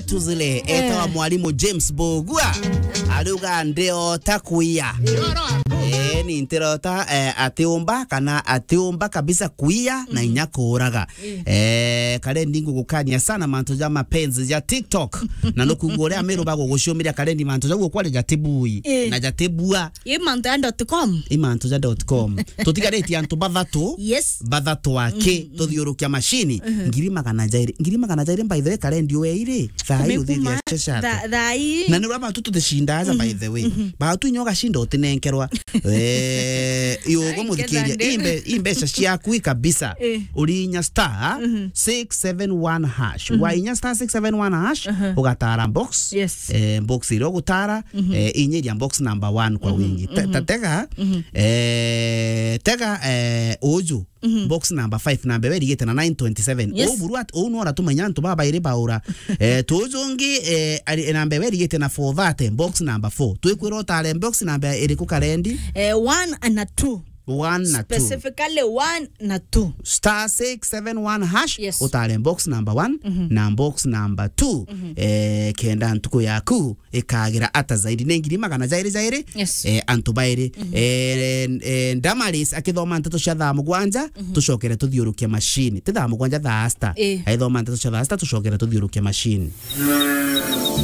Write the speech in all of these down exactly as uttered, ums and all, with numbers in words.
Tuzile, etawa mwalimu James Bogua. Ariuga, "Ndiota kuia." Eh, ni ntirota, eh, atiumba kana atiumba kabisa kuia na inya kuuraga. Eh, Karendi, ngugukania sana mantu ja mapenzi ja TikTok. Na nukuigua uria Amiru baguguciumiria Karendi mantu jau ukwari jatibui. Eh. Na jatibua. I mantu ya dot com. I mantu ja dot com. Tutigaritie antu bathatu. Yes. Bathatu aki, tuthiurukia macini. Ngiri magana jairi. Ngiri magana jairi, by the way, Karendi, weire. Thaa hii uthithia tha-, thaa hii. Na ni uria batu tutishinda aja, by the way. Batu inya ugacinda utinenkerwa. Eh, iyo ugo muthikiria. Imbe-, imbeca ciaku i kabisa. Eh. Uri inya star six seven one hash. Wa inya star six seven one hash, ugatara box. Yes. Eh, box iria ugutara, eh, inyiria box number one kwa wingi. Te-, ta tega, eh, tega, eh, uju. Box number five, namba iria irigite na nine twenty-seven. Yes. Uu buru at-, uu nora tumenya antu babairi baura. Eh, tuju ungi, eh, ari, namba iria irigite na four thirty, box number four. Twikwira utare box namba iriku, Karendi? Eh, one na two. One na two. Specifically one na two. Star six seven one hash, yes, utare box number one na box number two. Eh, kenda ntuku yaku ikagira ata zaidi. Ni ngiri magana jairi jairi, yes, eh, antu bairi. Eh, eh, Damaris akithoma nteto cia thaa mugwanja, tucokere tuthiurukie macini. Ti thaa mugwanja, thaa sita. Eh. Aithoma nteto cia thaa sita, tucokere tuthiurukie macini.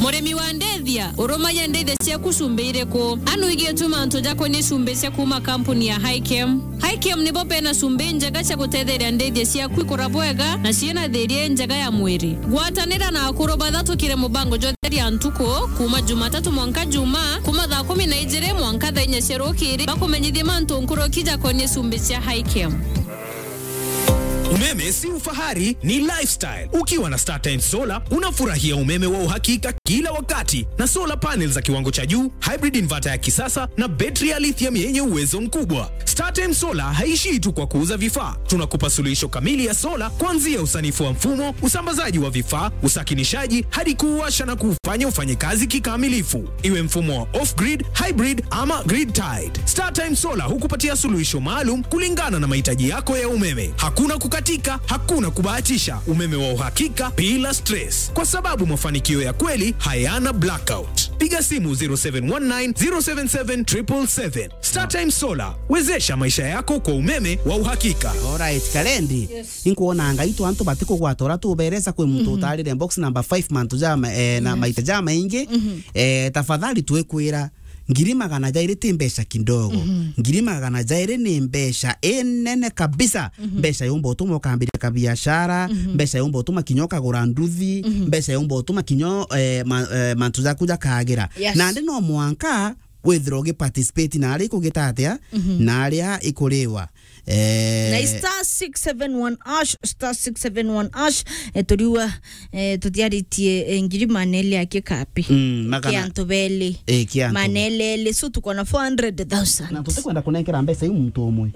Murimi wa ndithia, urumagia ndithia ciaku cumbi iriku? Anu igiituma antu jakonie cumbi cia kuma kampuni ya Hikem. Hikem nibo bena cumbi njega cia gutetheria ndithia ciaku ikura bwega na ciina thiria njega ya mwiri. Gwatanira na akuru bathatukire mubango jwa Theria Ntuku, kuma Jumatatu mwanka Juma, kuma thaa kumi na ijiri mwanka thaa inya cia rukiri, bakumenyithie mantu nkuruki jakonie cumbi cia Hikem. Umeme si ufahari, ni lifestyle. Ukiwa na StarTimes Solar, unafurahia umeme wa uhakika kila wakati, na solar panels za kiwango cha juu, hybrid inverter ya kisasa, na betri ya lithium yenye uwezo mkubwa. StarTimes Solar haishii tu kwa kuuza vifaa. Tunakupa suluhisho kamili ya sola, kuanzia usanifu wa mfumo, usambazaji wa vifaa, usakinishaji, hadi kuuwasha na kuufanya ufanye kazi kikamilifu. Iwe mfumo wa off-grid, hybrid ama grid-tied, StarTimes Solar hukupatia suluhisho maalum kulingana na mahitaji yako ya umeme. Hakuna kukatika, hakuna kubahatisha, umeme wa uhakika bila stress, kwa sababu mafanikio ya kweli hayana blackout. Piga simu zero seven one nine, zero seven seven, triple seven. StarTimes Solar, wezesha maisha yako kwa umeme wa uhakika. Alright, Karendi. Yes. Inkuona ngai tu antu batikugwata uria tuberesa kwi muntu utarire box number five mantu jama, eh, na maita jamaingi. Eh, tafadhali twikwira, ngiri magana jairi ti mbeca kidogo. Ngiri magana jairi ni mbeca inene kabisa. Mbeca yumba utuma ukambiria kabiashara, mbeca yumba utuma kinya ukagura nduthi, mbeca yumba utuma kinya, eh, ma-, eh, mantu jaku jakagira. Yes. Nandi no mwanka withirwa ugiparticipate na aria ikugita atia, na aria ikuriwa. Eh, na star six seven one hash, star six seven one hash, eh, turiwa, eh, tutiaritie, eh, ngiri manele ya kikapi. Mm, magana kia antu beli. Eh, kia antu. Manele eli, so tuko na four hundred thousand. Na tutikwenda kunenkera mbeca iu muntu umwe.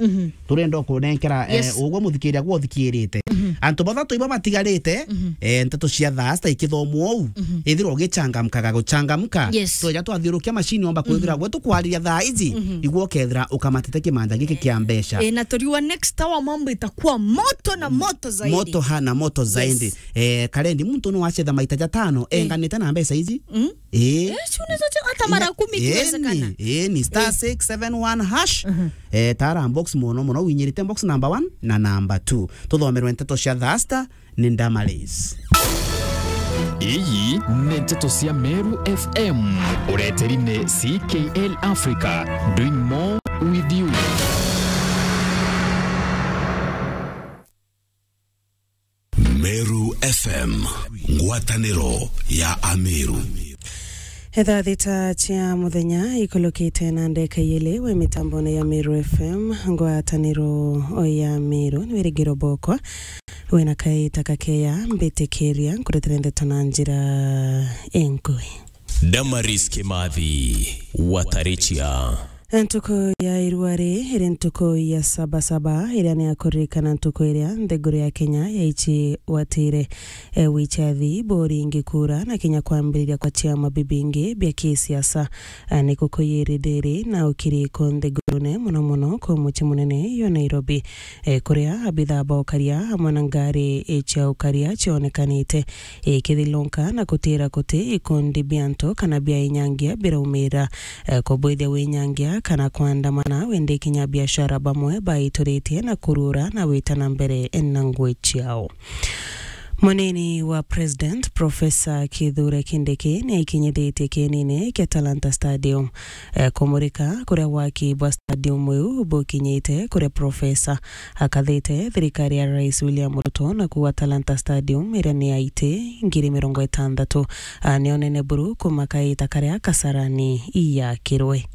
Turenda kunenkera, eh, yes, ugwe muthikiria gwe uthikirite. Antu bathatu ibo batigarite, eh, nteto cia thaa sita ikithomwa uu. Ithirwa ugichangamkaga guchangamka. Yes. Tweja twathiurukia macini omba kwithira gwe tukwariria thaa iji, igwe ukethira ukamatite kimanja giki kia mbeca. Eh, na turiwa next hour mambo itakuwa moto na moto zaidi. Moto ha na moto zaidi. Yes. Eh, Karendi, muntu no acetha maita jatano, eh, enganite na mbeca iji. Mm. Eh. Eh, si unaweza che-, hata mara kumi ikiwezekana. Eh, ni, eh, ni star six seven one hash. Eh, tara box mono mono, winyirite box number one na number two. Tuthomerwe nteto cia thaa sita ni Damaris. Iyi ni nteto cia Meru F M. Ureteri ni C K L Africa, doing more with you. Meru F M, ngwataniro ya Ameru. Thaa thita cia muthenya ikulukite na ndeka iili wi mitambone ya Meru F M, ngwataniro ya Meru. Ni wirigiro bokwa wina kaita kakeya mbitikiria nkuretera ndeto na njira inkui. Damaris Kimathi, Watarichia. Ntuku ya irua ri iri ntuku ya Sabasaba, iria ni ya kuririkana ntuku iria nthiguru ya Kenya yaicigwatire, e, wichathi, bori ingi kura, na kinya kwambiriria kwa ciama bibingi bia kisiasa. E, ni kukuyirithirie na ukiriko nthigurune, mono mono ku mucii munene yo Nairobi, e, kuria abithaa ba ukaria amwe na ngari cia ukaria cionekanite ikithilunka na kutira kuti ikundi bia antu kana bia inyangia biraumira, e, kubwithia winyangia kana kwandamana, windi kinya biashara bamwe baituritie na kurura na wita na mbere na ngui ciao. Munini wa President, Professor Kithure Kindiki, ni aikinyithitie kienine kia Talanta Stadium, e, kumurika kuria waki bwa stadium iu bukinyite, kuria Professor akathite thirikari ya Rais William Ruto na kuuga Talanta Stadium iria ni ya iti ngiri mirongo itantatu, a, ni unene buru kuma kaita karia Kasarani iyakirwe.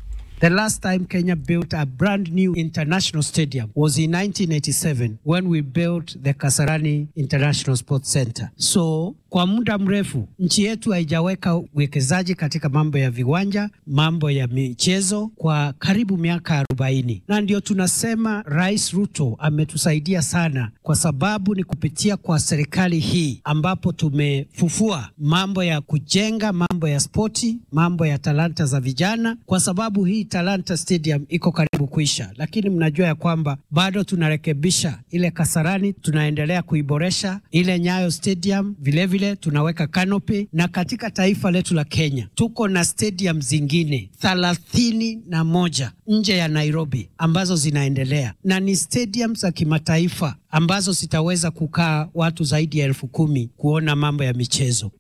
The last time Kenya built a brand new international stadium was in nineteen eighty-seven when we built the Kasarani International Sports Centre. So, kwa muda mrefu, nchi yetu haijaweka uwekezaji katika mambo ya viwanja, mambo ya michezo kwa karibu miaka arobaini. Na ndio tunasema Rais Ruto ametusaidia sana, kwa sababu ni kupitia kwa serikali hii ambapo tumefufua mambo ya kujenga, mambo ya spoti, mambo ya talanta za vijana, kwa sababu hii Talanta Stadium iko karibu kuisha. Lakini mnajua ya kwamba bado tunarekebisha ile Kasarani, tunaendelea kuiboresha. Ile Nyayo Stadium vilevile tunaweka canopy, na katika taifa letu la Kenya tuko na stadium zingine thelathini na moja nje ya Nairobi ambazo zinaendelea, na ni stadium za kimataifa ambazo zitaweza kukaa watu zaidi ya elfu kumi kuona mambo ya michezo.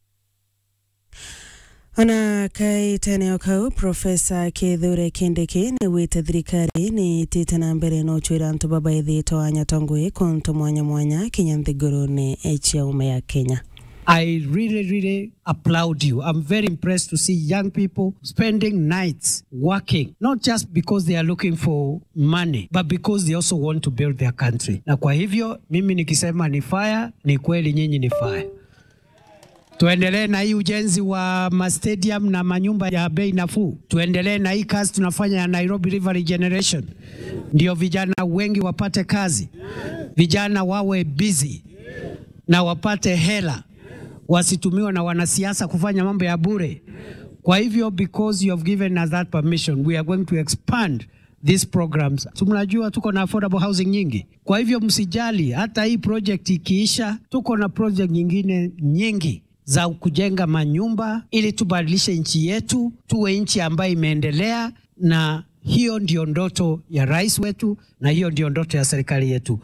Ona kaitene o kau, Professor Kithure Kindiki ni wite thirikari ni itite na mbere na uchwira antu babaithitwe anyatwa ngui kuntu mwanya mwanya kinya nthigurune cia ume ya Kenya. I really, really applaud you. I'm very impressed to see young people spending nights working, not just because they are looking for money, but because they also want to build their country. Na kwa hivyo, mimi nikisema ni fire, ni kweli nyinyi ni fire. Tuendelee na hii ujenzi wa ma stadium na manyumba ya bei nafuu. Tuendelee na hii kazi tunafanya ya Nairobi River Regeneration. Ndio vijana wengi wapate kazi. Vijana wawe busy na wapate hela. Wasitumiwe na wanasiasa kufanya mambo ya bure. Kwa hivyo, because you have given us that permission, we are going to expand these programs. Si mnajua tuko na affordable housing nyingi? Kwa hivyo msijali, hata hii project ikiisha, tuko na project nyingine nyingi za kujenga manyumba ili tubadilishe nchi yetu, tuwe nchi ambayo imeendelea, na hiyo ndio ndoto ya rais wetu, na hiyo ndio ndoto ya serikali yetu.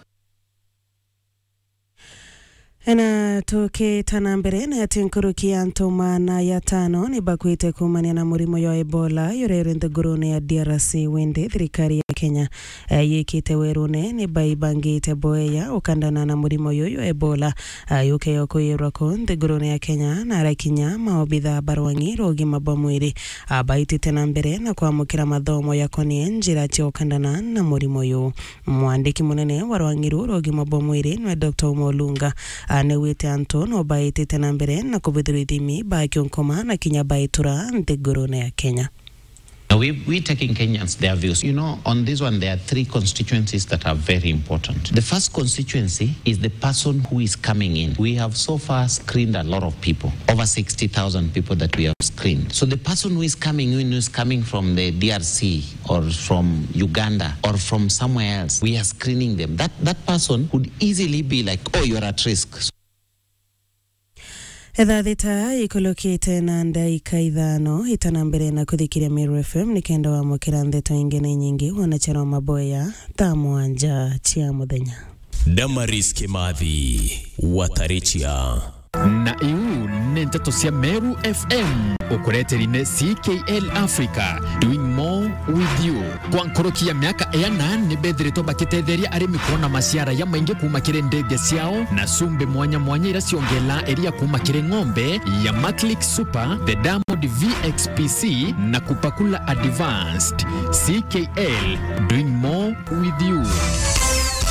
Na tukita na mbere, ni ati nkuruki ya antu maana ya tano ni bakwite kuumania na murimo jwa Ebola juria juri nthigurune ya D R C, windi thirikari ya Kenya, eh, yikite werune ni baibangite boeya ukandana na murimo juju jwa Ebola, ah, jukeyo kwiyirwa ku nthigurune ya Kenya, na arakinya maobitha barwang'i rwa ugima bwa mwiri, ah, baitite na mbere na kwamukira mathomo jakonie njira cia ukandana na murimo juju. Mwandiki munene wa rwang'i ruu rwa ugima bwa mwiri nwe Doctor Uma Olunga, a, newite antu no baitite na mbere na kubithirwa ithimi bakiunkuma na kinya baitura nthigurune ya Kenya. Now, we, we taking Kenyans their views. You know, on this one, there are three constituencies that are very important. The first constituency is the person who is coming in. We have so far screened a lot of people, over sixty thousand people that we have screened. So the person who is coming in, who is coming from the D R C, or from Uganda or from somewhere else, we are screening them. That, that person could easily be like, "Oh, you're at risk." Ithaa thita ikulukite na ndaika ithano, itana mbere na kuthikiria Meru F M, nikenda wamukira ndeto ingi na inyingi wona charo maboya thaa mwanja cia muthenya. Damaris Kimathi, Watarichia. Na iu ni nteto cia Meru F M, ukureteri ni C K L Africa, doing more with you. Kwa nkuruki ya miaka iana, ni bethiritwe bakitetheria arimi kuona maciara jamaingi kuuma kiri ndege ciao na cumbi mwanya mwanya iria ciongela iria kuuma kiri ng'ombe ya Maclick Super, the Diamond V X P C na Kupakula Advanced. C K L, doing more with you.